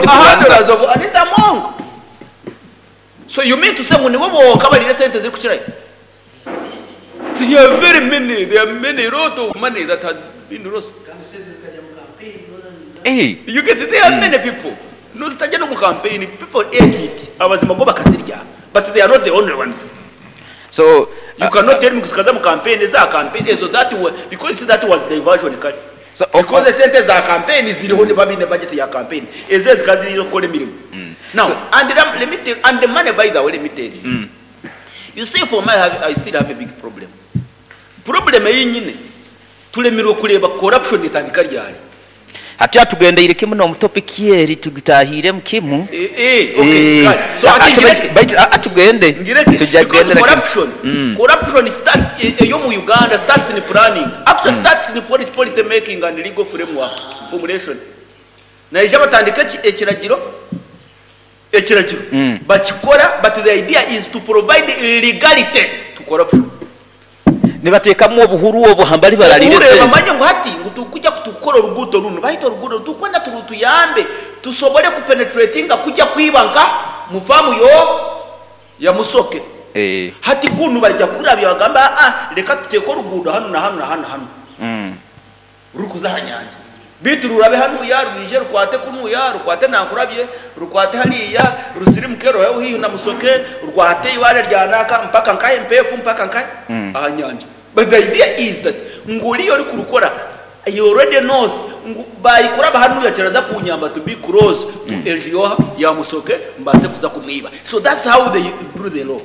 Aha orikubanza. Handlers of Anita Among. So you mean to say ngu nibo bonka abariire esente ezirikukirayo? There are very many, there are many lot of money that has been lost. Eh, You get it? There are many people. No zitajya no mu campaign, people ate it. Abazima bo bakazirya. But they are not the only ones. So You cannot tell me ngu zikaza mu campaign, eza campaign ezo that were, because that was diversion kare. So, Because esente za campaign ziriho niba biine budget ya campaign. Ezo ezikaba ziri ez'okukora emirimo. Now, and let me tell, and the money by the way, let me tell you. You see for my, I still have a big problem. Problem ei nyine, turemirwe kureeba corruption etandika ryari. Hati atugendeire kimu n'omu topic eri tugitahiiremu kimu. Eh, eh, okay, Eh, kare. So ati ati ngireke. baitu atugende Ngireke. tujja Because kugendera kimu. corruption, corruption starts eyo mu Uganda starts in planning. Actually starts in policy making and legal framework formulation. Naija batandika ekiragiro, ekiragiro bakikora, but the idea is to provide legality to corruption. Nibateekamu obuhuru obwo hambali barariire Obuhuru sente. bamanye ngu hati ngu tukujja kutukora oruguuto runu, bahita oruguuto tukwenda turutuyambe tusobole kupenetratinga kujya kwiba nka mu faamu yo ya Musoke. Hati kunu bajya kurabya bagamba, ah, reka tuteke oruguudo hanu na hanu na hanu na hanu. Rukuza aha nyanja. Bitu rurabe hanuya, rwije rukwate kunuya, rukwate nankurabye, rukwate hariya, rusirimuke ruheho hihi na Musoke, rwate ibare rya naka mpaka nkahe mpefu mpaka nkahe aha nyanja. But the idea is that nguriyo ori kurukora, he already knows ngu bayikuraba hanuya kiraza kunyamba to be close to enju ya Musoke mbase kuza kumwiba. So that's how they do the law.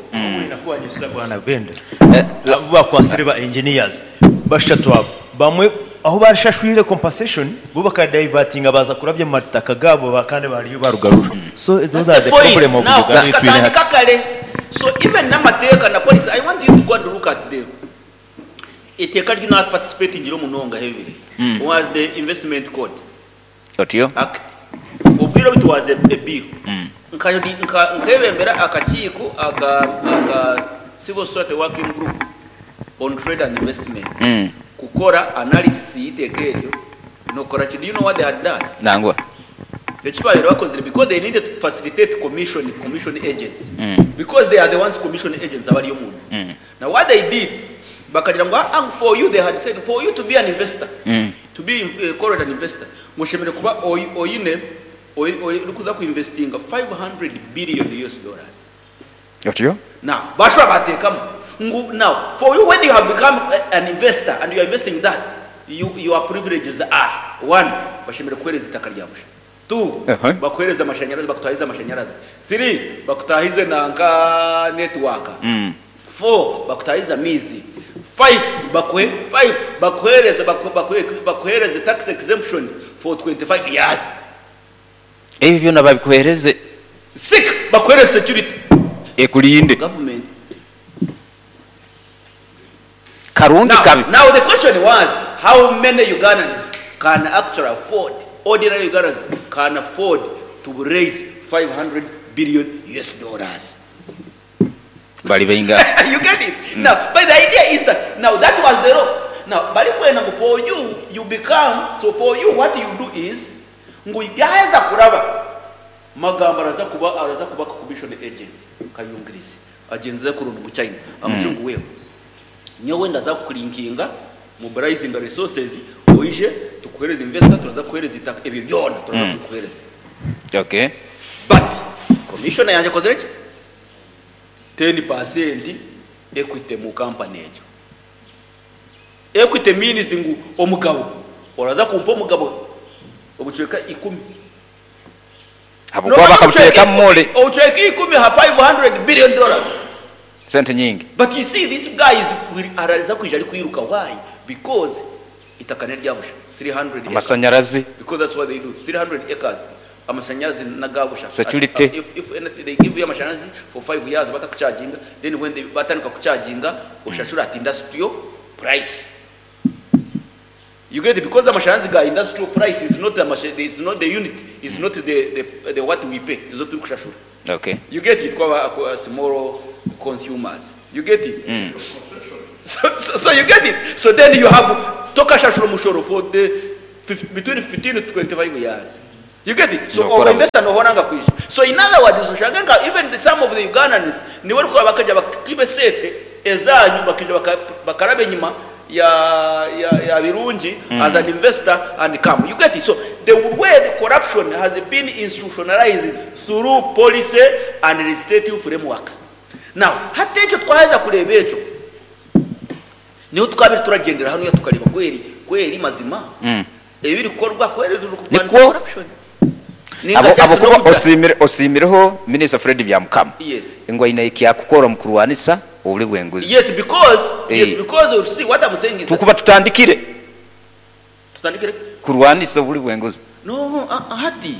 Nakuwanyisa bwana Benda. Abo bakwasire ba engineers bashatu abo bamwe aho barashashwire compensation bo bakadivertinga baza kurabya mu mataka gabo kandi bariyo barugarura. So those That's are the the point. problem of Now, Uganda twine zikatandika hati. kare. So even n'amateeka na policy, I want you to go and look at them. Iteeka ryo not participating ngiro munonga heavily was the investment code Otyo? act. Obwire obu it was a bill. Nkebembera akakiiko aka civil society working group on trade and investment. Kukora analysis y'iteeka eryo nokora ki? Do you know what they had done? Nangwa. Ekibabaire bakozire because they needed to facilitate commission agents. Because they are the ones commission agents abari omunda. Now what they did, bakagira ngu, ah, for you they had said for you to be an investor, to be called an investor, ngoshemerere kuba oyine orikuza kuinvestinga 500 billion US dollars. Otyo? Now, bashobora bateekamu ngu now for you when you have become an investor and you are investing that, your privileges are one, bashemerere kuhereza itaka rya busha. 2, bakuhereza amashanyarazi, bakutahiza amashanyarazi. 3, bakutahize nanka network. 4, bakutahiza mizi. 5, 5, bakuhereze tax exemption for 25 years. Ebyo byona babikuhereze. 6, bakuhereze security. Ekulinde. Government. Karungi Now, kabi. now the question was, how many Ugandans can actually afford, ordinary Ugandans can afford to raise 500 billion US dollars? Bali bainga. You get it? Now, but the idea is that, now that was the law. Now, bali kwenda ngu for you, you become, so for you what you do is, ngu yaheza kuraba, magambo araza kuba commission agent, kayungirize, agenze kurunda mu China, amugire ngu wewe, nyowe ndaza kukulinkinga, mobilizing resources, oije, tukuhereze investor, turaza kuhereza itaka, ebyo byona, turaza kukuhereza. But, commissioner yanje akozire ki? 10% equity mu company egyo. Equity means ngu omugabo, oraza kumpa omugabo obucweka 10. Habwokuba bakabuteeka mule. Obucweka 10 ha 500 billion dollars. Sente nyingi. But you see this guy is araza kwija ari kwiruka. Why? Because itaka ni ryabusha 300 acres. Amashanyarazi. Because that's what they do. 300 acres. Amashanyarazi nagabusha. Security. If anything they give you amashanyarazi for 5 years batakucharginga, then when they batandika kucharginga ushashura at industrial price. You get it? Because amashanyarazi ga industrial price is not the is not the unit, is not the what we pay. Is not kushashura. You get it? Kwa small consumers. You get it? So you get it? So then you have tokashashura mushoro for the between 15 to 25 years. You get it? So Nokora obu investor nohora nga kwija. So in other words oshange nka even the some of the Ugandans nibo orikureeba bakaija bakiiba esente ezanyu bakaija baka bakaraba enyima ya ya ya Birungi as an investor and come. You get it? So the way the corruption has been institutionalized through policy and legislative frameworks. Now hati ekyo twaheza kureeba ekyo niho tukabire turagyendera hanuya tukareeba kweri kweri mazima Ebirikukorwa ku eri ririkurwanisa Nikwo corruption. Ninga abo just ahabw'okuba n'okugira. osiimire osiimireho Minisita Fred Byamukama Yes. ngu aine ekyakukora omu kurwanisa oburi bw'enguzi. Yes because, yes Eh. because you see what I'm saying is that. Tukuba tutandikire Tutandikire ki? kurwanisa oburi bw'enguzi. No, ah, ah, hati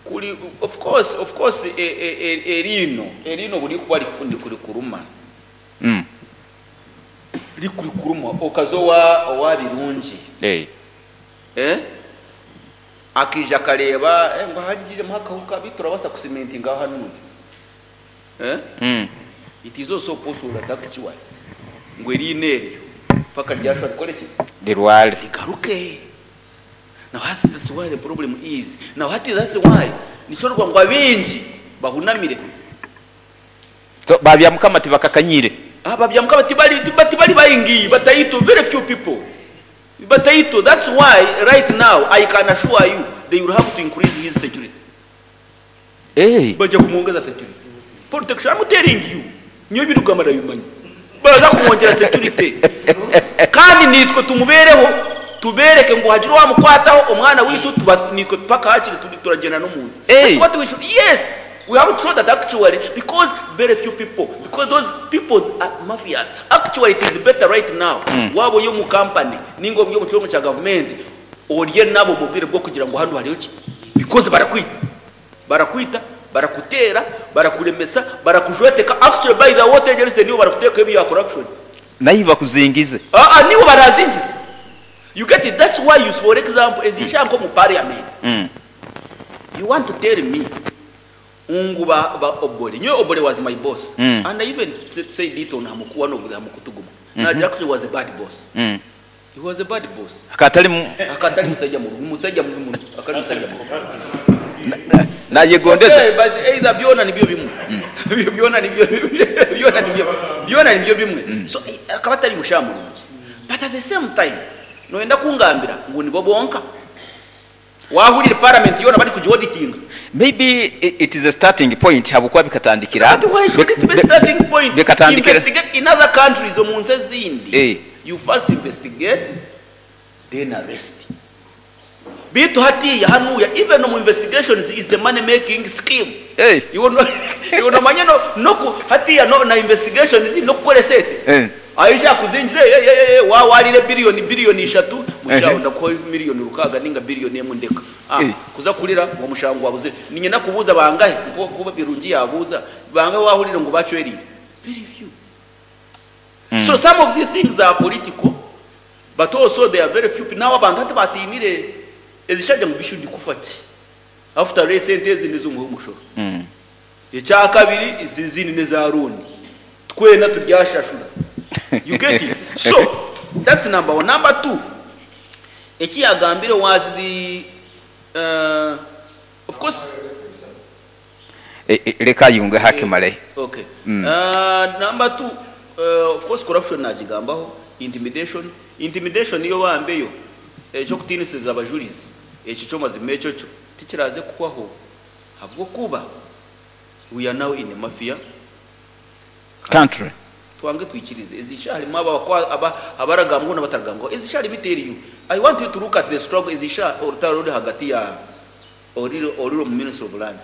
kuri of course, of course e, e, e, eriino eriino buri kuba rikuruma. Rikurikuruma okaza owa owa Birungi eh akaija akareeba eh ngu hagiremu akahuka beitu turabaasa kusimentingaho hanuya eh it is also possible that actually ngu eriino eryo paka ryashusha rikore ki? Rirware. Rigaruke. Now hati that's why the problem is now hati that's why nikyo orikugira ngu abaingi bahunamire. So ba Byamukama tibakakanyire. Aba Byamukama tibari tibari baingi bataito very few people bataito that's why right now I can assure you they will have to increase his security Eeh. baija kumwongeza security protection I'm telling you nyowe ebindikugamba ndabimanya baraza kumwongyera security kandi naitwe tumubereho tubereke ngu hagira owamukwataho omwana waitu tuba naitwe paka hakiri turagyenda n'omuntu Eeh. that's what we should yes We have to show that actually because very few people because those people are mafias actually it is better right now waaba ori omu company ninga ori omu kitongore kya gavumenti orye nabo omu bwire bw'okugira ngu hanu hariho ki because barakwita barakwita barakuteera barakuremesa barakujweteka actually by the way otegyereize niiwe barakuteekaho ebya corruption. Naiwe bakuzingize. Aa niiwe barazingize you get it that's why you for example ezi shaaha nk'omu parliament You want to tell me ngu ba ba Obore, nyowe Obore was my boss and I even said it on hamuku one of the hamukutu gumwe nagira ku he was a bad boss. He was a bad boss. Akaba atari mu. Akaba atari musajja murungi, musajja mubi muno, akaba ari musajja mubi. Nayegondeza. Okay, but either byona nibyo bimwe. Byona nibyo byona nibyo byona nibyo bimwe. So akaba atari mushaija murungi. But at the same time noyenda kungambira ngu nibo bonka? Waahurire parliament yoona barikugiauditinga. Maybe it is a starting point habwokuba bikatandikira But why should it be starting point? bikatandikira Investigate in other countries omu nsi ezindi Eh. you first investigate then arrest. Beitu hatiiya hanuuya even omu investigations is a money making scheme. Eh. Iwe no iwe nomanya no noku hatiiya no na investigations nokukora esente. Eh. Aija akuzingize eh eh eh wa warire billion billion ishatu mushaho Ehe. ndakuha million rukaaga ninga billion emwe ndeka. Ah Eh. kuza kurira ngu omushango gwabuzire. Ninye nakubuuza bangahi nkoku Birungi yabuuza bangahi owahurire ngu bacwerire? Very few. So some of these things are political but also there are very few people. Nawe abantu hati batiinire ezishaija ngu bishu ndikufa ki? After all esente ezi nez'omuhi w'omushoro. Ekyakabiri ezi ezindi neza loan. Twena turyashashura. You get it? So that's number one. Number two, eki yagambire was the uh, of course Reka ayungeho akimare. Okay. Uh, number two, uh, of course corruption nagigambaho, intimidation. Intimidation yo bambe yo eky'okutiinisiriza abajurizi ekyo kyo mazima ekyo kyo tikiraaze kuhwaho habw'okuba we are now in a mafia Country. Twange twikirize ezi shaaha harimu abo abaragambwaho n'abataragambwaho. Ezi shaaha let me tell you, I want you to look at the struggle ezi shaaha orutaro oruri ahagati ya oriri omu ministry of lands.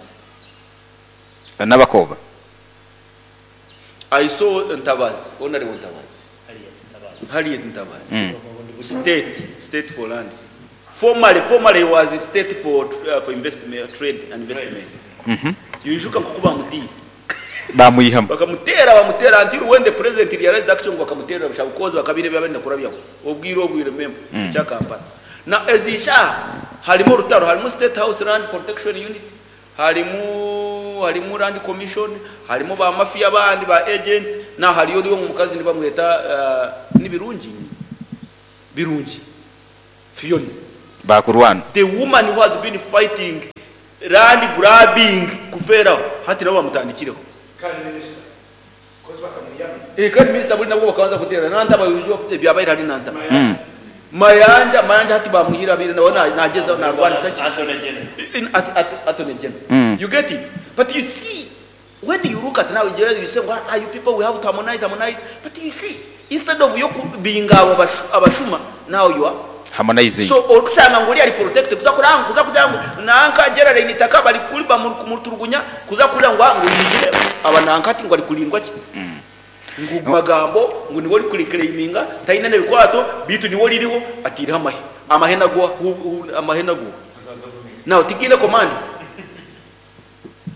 N'abakooba. I saw Ntabazi, Honourable Ntabazi, Harriet Ntabazi, state, state for lands. Formerly, formerly he was state for, uh, for investment, trade and investment. Yijuka nk'oku bamutiire. Bamwihamu. Bakamuteera bamuteera until when the president realized actually ngu bakamuteerera busha because bakabaire benda kurabyaho obwire obu you remember ekya Kampala. Na ezi ishaaha harimu orutaro harimu state house land protection unit harimu harimu land commission harimu ba mafia abandi ba agents na hariyo ori omukazi nibamweta uh, ni Birungi? Birungi Fiona. Baakurwana. The woman who has been fighting land grabbing kufeeraho hati nabo bamutandikireho. Eh, kandi minisita buri nabwo bakabanza kuteera Nantaba ebyabaire ahari Nantaba. Mayanja, Mayanja hati bamwihire abaire nawe nagyezaho narwanisa ki? Attorney General. You get it? But you see, when you look at now, you say, well, you people, we have to harmonize, harmonize. But you see, instead of yo kubinga abo abashuma, now you are Harmonizing. So orikushanga ngu oriya ari protected kuza kuranga kuza kugira ngu nanka Geraldine itaka bari kuri bamurikuturugunya kuza kurira ngu ngu yijire aba nanka ati ngu ari kurindwa ki ngu magambo ngu niwe ori kuriclaiminga tayine nebikwato bitu niwe oririho atireho amahe amahe nago amahe nago now tigiine commands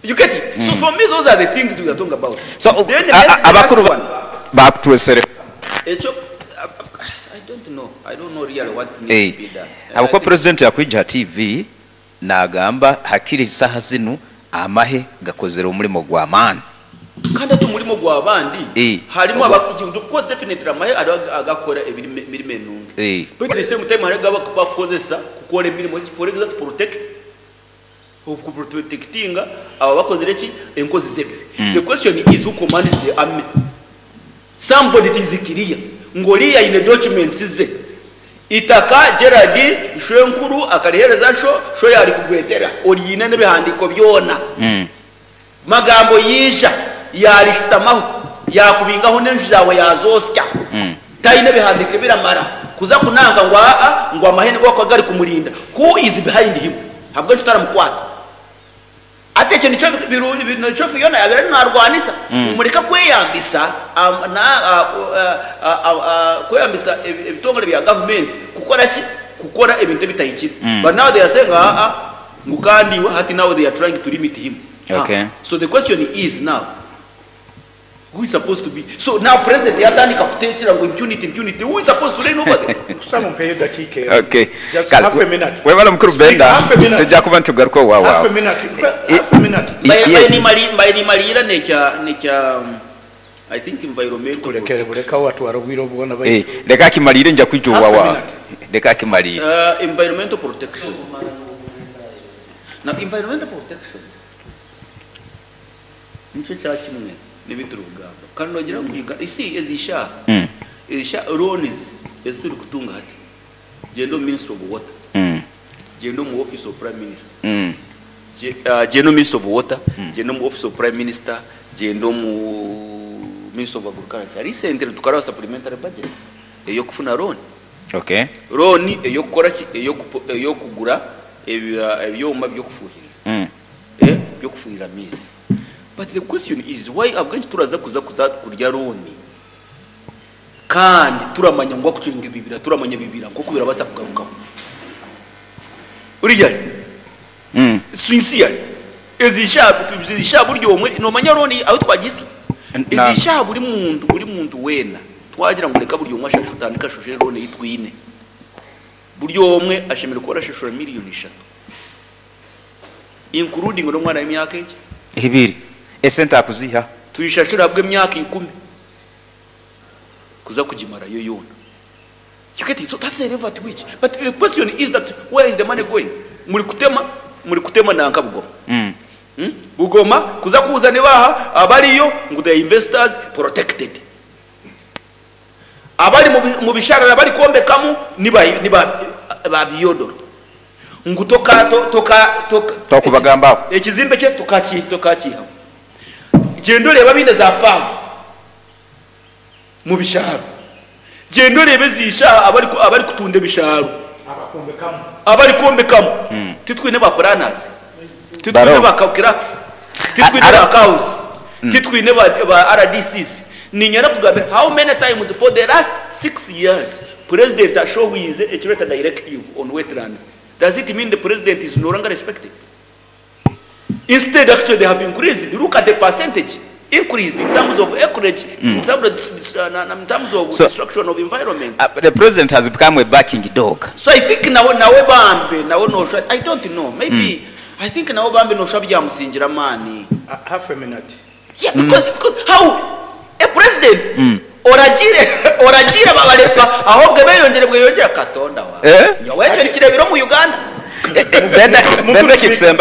you get it so for me those are the things we are talking about So then the last abakuru one bakutwesere ekyo I don't know I don't know really what needs to be done Habwokuba president yakwija ha TV nagamba hakiri saha zinu amahe gakozere omurimo gwamaani. Kandi hati omurimo gwabandi harimu aba of course definitely amahe hariho agakukora emirimo enungi but at the same time hariho agu bakukozesa kukora emirimo ki for example to protect oku protectinga abo abakozire ki enkozi z'ebibi the question is who commands the army somebody it is clear ngu oriya aine documents ze Itaka Gerald shwenkuru akarihereza sho, sho yarikugwetera oriine n'ebihandiiko byona. Magambo yaija yarishutamaho yakubingaho n'enju zaawe yazoosya. Taine bihandiiko ebiramara kuza kunanka ngu aa ngu amahe nigo garikuba gari kumurinda. Who is behind him? Ahabw'enki otaramukwata? Hati ekyo nikyo birungi nikyo Fiona yaabaire ariyo naarwanisa ngu mureke kweyambisa kweyambisa ebitongore bya gavumenti kukora ki? Kukora ebintu ebitahikire. But now they are saying aa ngu kandi iwe hati now they are trying to limit him. Okay. So the question is now who is supposed to be so now president yatandika kutekyera ngu impunity impunity who is supposed to reign over them? Nkusaba ompeyo edakiika emwe. Okay. Just Kale, half a minute. Webale mukuru Speak Benda, half a minute. tujja kuba nitugaruka owa Half a waawe. minute. Half a minute. Mbaire nimariira nekya nekya I think environmental Kulekere buleka watwara obwire obwona Eh, baitu. leka akimariire nja kwija owa Half a waawe. minute. Leka akimariire. Environmental protection. Now environmental protection nikyo kya kimwe n'ebi turikugamba. Kandi noogira ngu Uganda, you see ezi shaaha, ezi shaaha loans ezi turikutunga hati, gyenda omu ministry of water, gyenda omu office of prime minister, gyenda omu ministry of water, gyenda omu office of prime minister, gyenda omu ministry of agriculture. Recently tukaraba supplementary budget ey'okufuna loan. Okay. Loan ey'okukora ki? Ey'okugura ebyoma by'okufuhirira. By'okufuhirira amaizi. But the question is why ahabw'enki turaza kuza kuza kurya loan kandi turamanya ngu akucunga ebibira turamanya ebibira nk'oku birabaasa kugarukaho. Really? Sincerely. Ezi shaaha ezi shaaha buri omwe noomanya loan ahu twagiitsya? Ezi shaaha buri muntu buri muntu weena Twagira ngu reka buri omwe ashashure, otandike ashashure loan ei twine. Buri omwe ashemereire kuba arashashura miriyoni ishatu including n'omwana w'emyaka egi. Ebiri. Esente akuziiha. Tuishashure ahabw'emyaka ikumi kuza kugimarayo yoona. You get it? So that's the level at which. But the question is that where is the money going? Muri kutema, muri kutema nanka Bugoma. Bugoma kuza kubuuza ni baaha abariyo ngu the investors protected. Abari mu bisharara barikwombekamu ni ba Byodoro ngu toka toka toka Tokubagambaho. Ekizimbe kye tokakiihamu. Gyenda oreebe abaine za faamu mu bisharo. Gyenda oreebe ezi shaaha abarikutunda ebisharo. Abarikwombekamu. Titwine ba planners. Titwine ba clerks. Titwine ba cows. Titwine ba RDCs. Niinyenda kugambira how many times for the last 6 years president ashohwize ekibeeta directive on wetlands does it mean the president is no longer respected? Instead actually they have increased look at the percentage increase in terms of acreage in terms of, in terms of So, destruction of environment. The president has become a barking dog. So I think nawe nawe bambe nawe nosha I don't know maybe I think nawe bambe nosha byamusingira amaani. Half a minute. Yeah, because, because how a president oragiire Oragiire babare ahobwe beyongyere bweyongyera Katonda wange. Eh? Nyowe ekyo nikireebire omu Uganda. Then, then ekikusembayo.